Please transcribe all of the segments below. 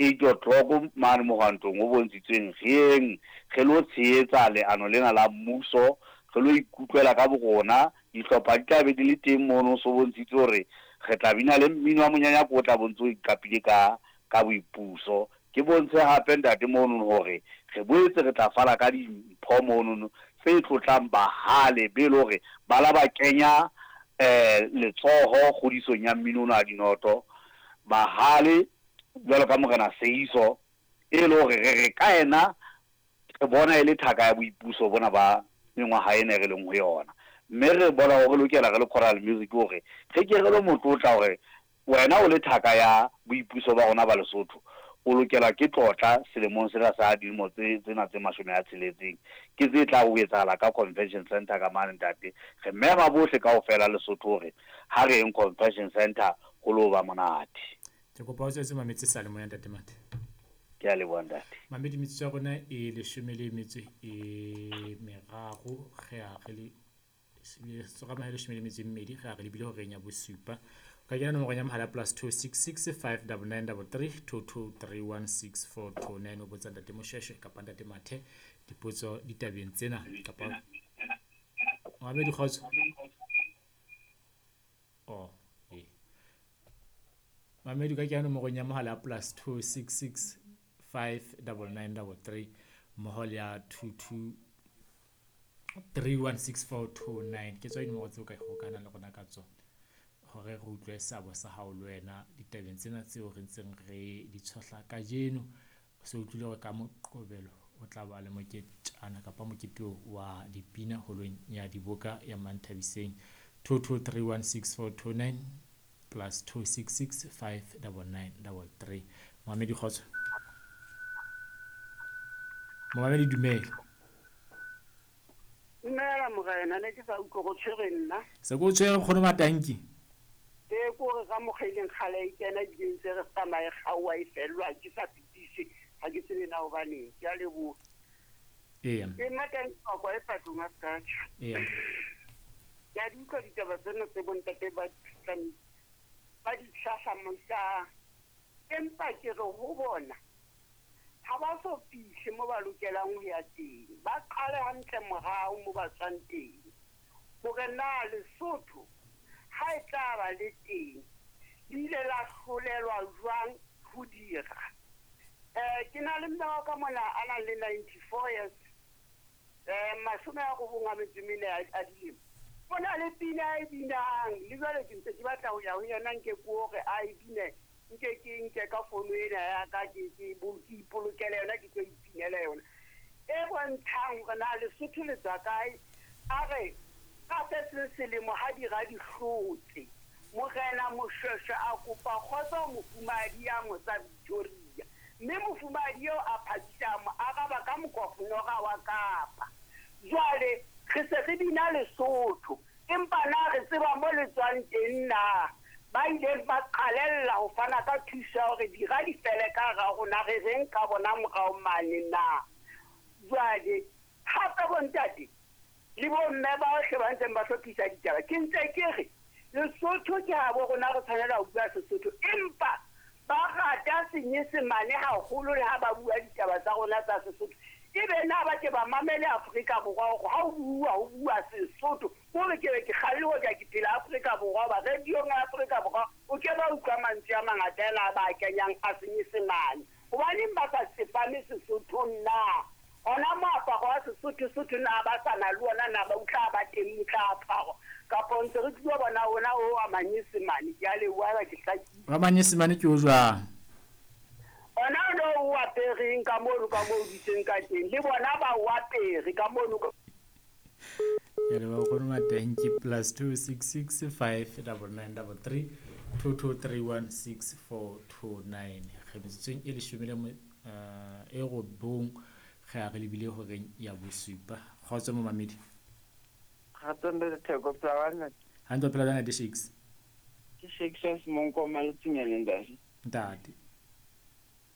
8 o'clock mane mohwantong o bontshitsweng, re yeng re lo tshehetsa leano lena la mmuso, re lo ikutlwela ka borona. Dihlopha di tla be di le teng mono, so bontshitse hore re tla bina le mmino wa monyanyako o tla bontse o iqapile ka boipuso. Ke bontshe hape, ntate, mono hore re boetse re tla fana ka dimpho mono tse tlotlang bahale be le hore ba la ba kenya letsoho kgodisong ya mmino ona wa dinoto, bahale jwalo ka Morena Seiso, e le hore re re ka ena re bona e le thaka ya boipuso bona ba mengwaha ena e re leng ho yona, mme re bona hore lokela re le Choral Music hore re ke re lo motlotla hore wena o le thaka ya boipuso ba rona ba Lesotho, o lokela ke tlotla selemong sena sa dilemo tse tsena tse 60 ke tse tla ho etsahala ka Convention Center ka mane. Ntate, re mema bohle kaofela Lesotho hore ha re yeng Convention Center ho lo ba monate. Ke kopa o tswetse mametse seyalemoya, ntate Mathe. Ke a leboha, ntate. Mamedi, metsotso ya rona e 13 ge a re le tsoga 12 ge a re lebile horeng ya bosupa. O ka kena nomorong ya mohala +266 599 33 22316429, o botsa ntate Moshweshwe kapa ntate Mathe dipotso ditabeng tsena. Kapa mamedi, kgotso. Oh, ee, mamedi, o ka kena nomorong ya mohala ya +266 599 33 mmoho le ya 22 316429. Ke tswa dinomoro tseo ka ikgokana le rona ka tsona hore re utlwe seabo sa hao le wena ditabeng tsena tseo re ntseng re di tshohla kajeno. O se utlwile hore ka Moqobelo o tla ba le moketjana kapa mokete wa dipina holong ya diboka ya Manthabiseng. 22316429, +266 599 33. Momamedi, kgotso. Momamedi, dumela. Dumela, morena. Ne ke sa utlwe go tshwere nna. Se ko tshwere, nkgono Matanki. Ee, ko re ka mokgwa e leng kgale e kena, ebile ntse re tsamaye kgaowa, e fellwa ke sa fetise, ga ke tsebe na hobaneng. Ke a leboha. Eya. Ke Matanki kwa e patlong a skatšha. Eya. Ke a di utlwa ditaba tsena tse bontate ba di ba di hlahlamoisang, empa ke re ho bona ha ba so fihle mo ba lokelang ho ya teng. Ba qale hantle morao mo ba tswang teng, hore na Lesotho ha e tla ba le teng le ile la hlolelwa jwang ho dira. Ke na le mme wa ka mona a nang le 94 years, 94 a dilemo. O na le pina e binang le jwale. Ke ntse ke batla ho ya ho yena, nke ke hore a e bine, nke ke nke ka fono ena ya ka, ke ipolokele yona, ke tlo ipinela yona e bontshang hore na Lesotho le tswa kae. A re ka se seng selemo ha dira di hlotse, Morena Moshweshwe a kopa kgotso ho mofumahadi ya motsa Victoria, mme mofumahadi eo a phakisa a mo araba ka mokofnora wa Kapa. Jwale re se re bina Lesotho, empa na re tseba mo le tswang teng? Na ba ileng ba qalella ho fana ka thuso ya hore dira di fele ka hara rona, re reng ka bona morao mane na? Jwale hape, bontate le bomme bohle ba ntseng ba hlophisa ditaba, ke ntse ke re Lesotho ke habo rona, re tshwanela ho bua Sesotho, empa ba rata Senyesemane haholo le ha ba bua ditaba tsa rona tsa Sesotho. Ebe na ba ke ba mamele Afrika Borwa hore ha ho bua, ho bua Sesotho? Kore ke be ke kgalle hoja ke phela Afrika Borwa, hoba radiong ya Afrika Borwa o ke ba utlwa mantswe a mangata ena a ba a kenyang a Senyesemane. Hobaneng ba sa tsepame Sesothong? Na hona moaparo wa Sesotho sotho na ba sa na le ona? Na ba utla ba teng o tla aparwa, kapa ntse re tlilo bona ona o wa Manyesemane? Ke a leboha ba ke hlakile. Wa Manyesemane ke o jwang? Ona o no o apereng ka mono, ka moo o dutseng ka teng, le bona ba o apere ka mono. Ke leboha, nkgono Matanki. +266 599 33 22316429. Re metsotsong e 19 ge a re lebile horeng ya bosupa. Kgotso, momamedi. Gatsonde Letheko Plawana. Hantle, phela jang, ntate Shakes? Ke Shakes Monkoma Letsunyane, ntate. Ntate.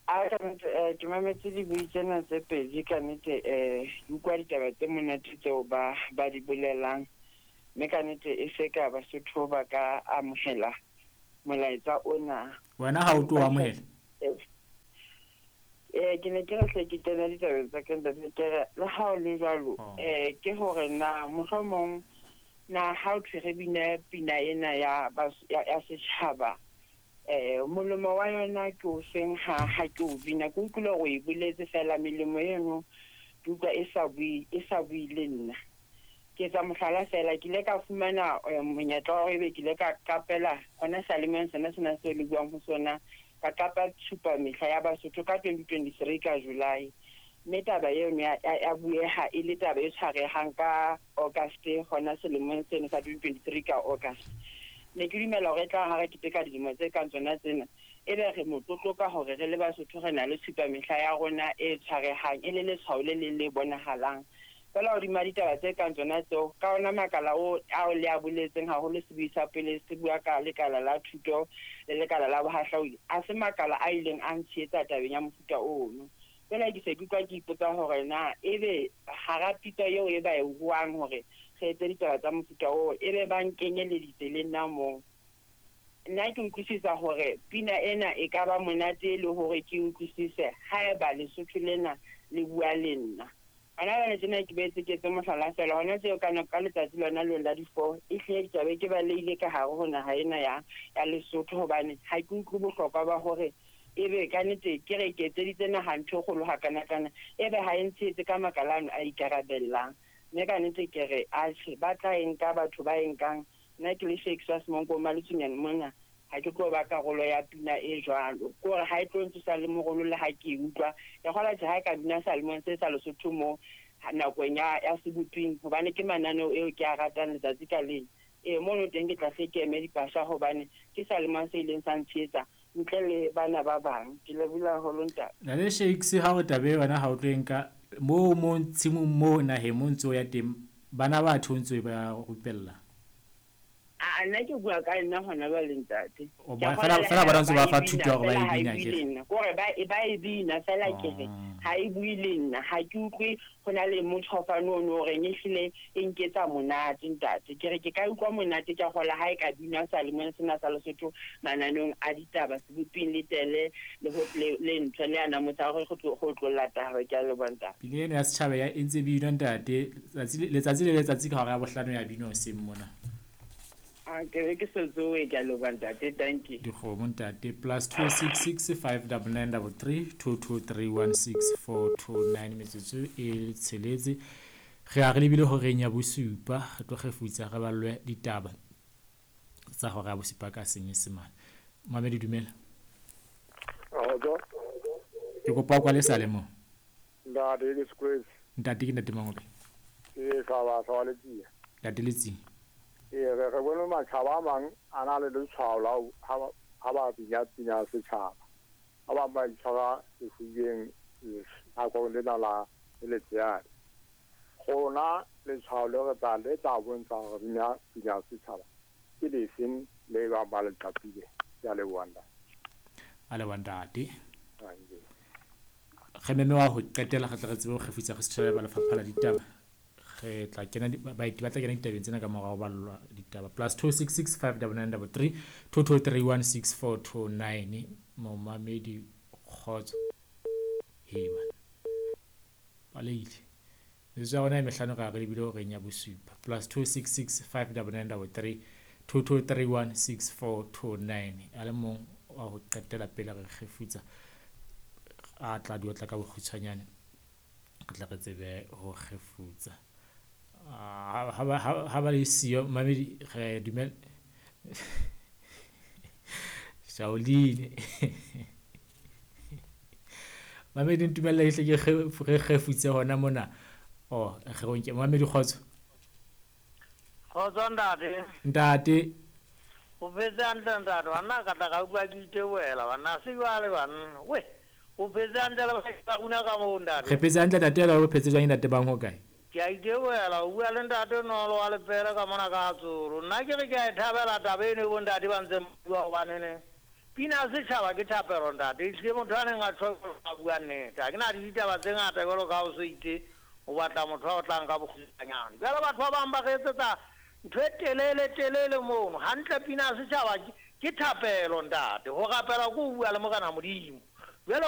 A ka nnete, ke mametse dibui tsena tse pedi. Ka nnete, ke utlwa ditaba tse monate tseo ba di bolelang, mme ka nnete e se ka Basotho ba ka amohela molaetsa ona. Wena ha o tlo amohela? Ke ne ke re hle ke kena ditabeng tsa ka ntate, ke re le ha o le jwalo, ke hore na mohlomong na ha o thwe re bine pina ena ya ya setjhaba, molemo wa yona ke o feng ha ke o bina? Ke utlwile hore o e boletse fela, melemo eno ke utlwa e sa bue le nna. Ke etsa mohlala fela, ke ile ka fumana monyetla wa hore ebe ke ile ka qapela hona salemeng sona sena seo le buang ho sona, ka qapa tshupa mehla ya Basotho ka 2023 ka July. Mme taba eno ya bueha e le taba e tshwarehang ka August, hona selemong seno sa 2023 ka August. Ne ke dumela hore e tla ha re keteka dilemo tse kang tsona tsena, ebe re motlotlo ka hore re le Basotho re na le tshupa mehla ya rona e tshwarehang, e le letshwao le leng le bonahalang. Fela hodima ditaba tse kang tsona tseo, ka ona makala o ao le a boletseng haholo, sebui sa pele se bua ka lekala la thuto le lekala la bohahlaudi, a se makala a ileng a ntshehetsa tabeng ya mofuta ono. Fela ke se ke utlwa ke ipotsa hore na ebe hara pitso eo e ba e buang hore re etse ditaba tsa mofuta oo, ebe ba nkenyeleditse le nna moo. Nna ke utlwisisa hore pina ena e ka ba monate le hore ke utlwisise haeba Lesotho lena le bua le nna. Hona jwale tjena ke boetse ke etse mohlala fela, hona tjeo ka ka letsatsi lona leo la di-4, e hlile ditaba ke balehile ka hare ho naha ena ya Lesotho, hobane ha ke utlwe bohlokwa ba hore ebe ka nnete ke re ke etseditse naha ntho e kgolo hakanakana, ebe ha e ntshehetse ka makala ano a ikarabellang. Mme ka nnete ke re atjhe, ba tla e nka batho ba e nkang. Nna ke le Shakes wa Semonkong Maletsunyane mona, ha ke tlo ba karolo ya pina e jwalo. Ke hore ha e tlo ntsosa le morolo le ha ke e utlwa. Ke kgolwa tjhe ha e ka bina salemong se sa Lesotho moo nakong ya seboping, hobane ke mananeo eo ke a ratang letsatsi ka leng. Mono teng ke tla hle ke eme dipasha, hobane ke salemong se ileng sa ntshehetsa ntle le bana ba bang. Ke lebohile haholo ntate. Ntate Shakes, ha o taba e wena ha o tlo e nka moo tshimong moo naheng mo ntso ya teng, bana ba thontse ba rupella. A nna ke bua ka nna hona jwale ntate. Fela ba ntse ba fa thuto hore ba e bina ke. Kore ba e bina fela ke re ha e bue le nna, ha ke utlwe ho na le motho fano ono hore ehlile e nketsa monate ntate. Ke re ke ka utlwa monate ke kgola ha e ka bina salemong sena sa Lesotho mananeong a ditaba seboping le tele le ho le ntho le ana motho hore go tlolla taba. Ke a leboha ntate. Pina ena ya setjhaba ya e ntse binwa ntate letsatsi le letsatsi ka hora ya bohlano ya binwa hoseng mona. Ke re ke sotsoe, ke a leboha ntate, thank you. Dikgomo ntate. +266 599 33 223 16429 metsotso e tsheletse. Re a re lebile horeng ya bosupa, re tlo kgefutsa re ballwe ditaba tsa hora ya bosupa ka Senyesemane. Mamedi dumela. Ke kopa o kwale sale mo. Ntate ke Sekwetsi. Ntate ke ntate Mangope. Ee, ka ba sa wa Letsia. Ntate Letsia. Ee, re bone matjhaba a mang a na le letshwao la ha ba bina pina setjhaba. Ba bang ba itshwara sefubeng nakong lena la letsheare. Rona letshwao le re tla le tla bontsha hore bina pina setjhaba ke lefeng le bang ba le qapile. Ke a leboha ntate. A leboha ntate. Re memewa ho qetela re tle re tsebe ho kgefutsa re setjhaba ba lefapha la ditaba. Re tla kena baeti ba tla kena ditabeng tsena ka morao ba ballwa ditaba. +266 599 33 223 16429. Momamedi kgotso. He bana. Baleile. Metsotso ya rona e mehlano ka re lebile horeng ya bosupa. +266 599 33 223 16429. A le mong wa ho qetela pele re kgefutsa a tla di otla ka bokgutshwanyane, re tla re tsebe ho kgefutsa. Ha ba le siyo mamedi, re dumela Shaoline. Mamedi ntumella ehle ke re kgefutse hona mona. Oh, re nke mamedi kgotso. Kgotso ntate. Ntate. O phetse hantle ntate, banna ka tla ka utlwa ke itebohela banna se jwale banna. We, o phetse hantle le ba rona ka moo ntate. Re phetse hantle ntate, o phetse jwang ntate bang ho kae? Ke a itebohela, o bua le ntate Nolo wa Lepele ka mona ka Tsoro. Nna ke re ke a e thabela taba eno e bo ntate ba ntseng bua hobane ne pina setjhaba ke thapelo ntate. Ehlile motho a neng a tjho a bua nnete. Ha ke na le ditaba tse ngata jwalo ka ha o so itse o batla motho a o tlang ka bokgutshwanyane. Jwale batho ba bang ba re etsetsa ntho e telele telele mono. Hantle pina setjhaba ke thapelo ntate. Ho rapela ke ho bua le Morena Modimo. Jwale